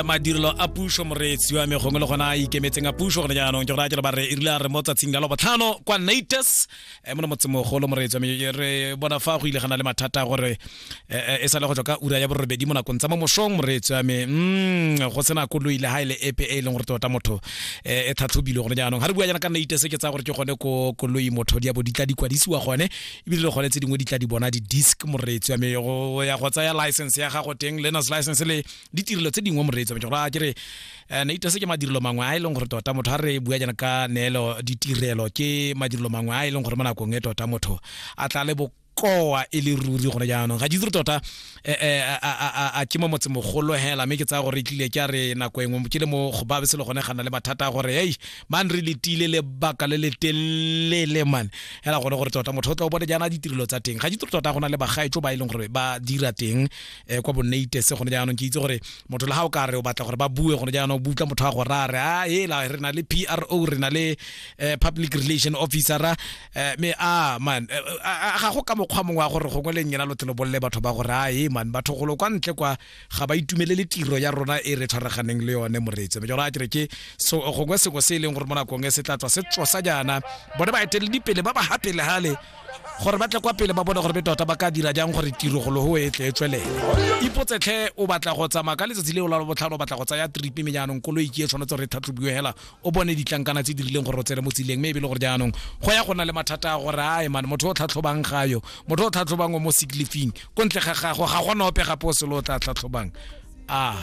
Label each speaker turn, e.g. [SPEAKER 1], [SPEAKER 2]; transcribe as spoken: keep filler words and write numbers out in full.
[SPEAKER 1] Madirelo a puso, moreetsi wa me, gongwe le gona a ikemetseng a puso gone jaanong, ke go raya ke re ba re e rile a re mo tsatsing la Labotlhano kwa Natas mo motsemogolo, moreetsi wa me, re bona fa go ile gana le mathata a gore e sale go tswa ka ura ya borobedi mo nakong tsa mo mosong, moreetsi wa me, mm go sena koloi le ha e le epe e e leng gore tota motho e tlhatlhobilwe gone jaanong. Ga re bua jaana ka Natas, ke tsaya gore ke gone ko koloi motho di a bo di tla di kwadisiwa gone, ebile le gone tse dingwe di tla di bona di-disc, moreetsi wa me, go ya go tsaya license ya gago teng, learners license le ditirelo tse dingwe, moreetsi wa me. Ke gore ke re Natas ke madirelo mangwe a e leng gore tota motho, ga re bua jaana ka neelo ditirelo, ke madirelo mangwe a e leng gore mo nakong e tota motho a tla le bokoa e le ruri gone jaanong. Ga ke itse tota a ke mo motsemogolo hela, mme ke tsaya gore e tlile ke a re nako engwe ke le mo go ba se le gone gana le mathata a gore ei man, re letile lebaka le le telele man hela gone gore tota motho o tla o bone jaana ditirelo tsa teng. Ga ke itse tota go na le bagaetso ba e leng gore ba dira teng kwa bo Natas gone jaanong. Ke itse gore motho le ga o ka re o batla gore ba bue gone jaanong, butla motho a go raya re a ela re na le P R O, re na le public relation officer, mme a man ga go ka mokgwa mongwe wa gore gongwe le nyena lo tle lo bolele batho ba gore a e man, batho golo kwa ntle kwa ga ba itumelele tiro ya rona e re tshwaraganeng le yone, moreetsi. Mme jora ke re ke so gongwe sengwe se e leng gore mo nakong e se tla tswa se tsosa jaana bone baeteledipele ba ba ha pele gale gore ba tle kwa pele ba bone gore be tota ba ka dira jang gore tiro golo go e tle e tswelele. Ipotsetlhe, o batla go tsamaya ka letsatsi leo la Botlhano, o batla go tsaya trip, mme jaanong koloi ke e tshwanetse gore e tlhatlhobiwe hela, o bone ditlankana tse di rileng gore o tsene mo tseleng, mme e be le gore jaanong go ya go na le mathata a gore ae man, motho o tlhatlhobang gayo, motho o tlhatlhobang o mo sick leave-ing, ko ntle ga gago ga gona ope gape o selo o tla tlhatlhobang a.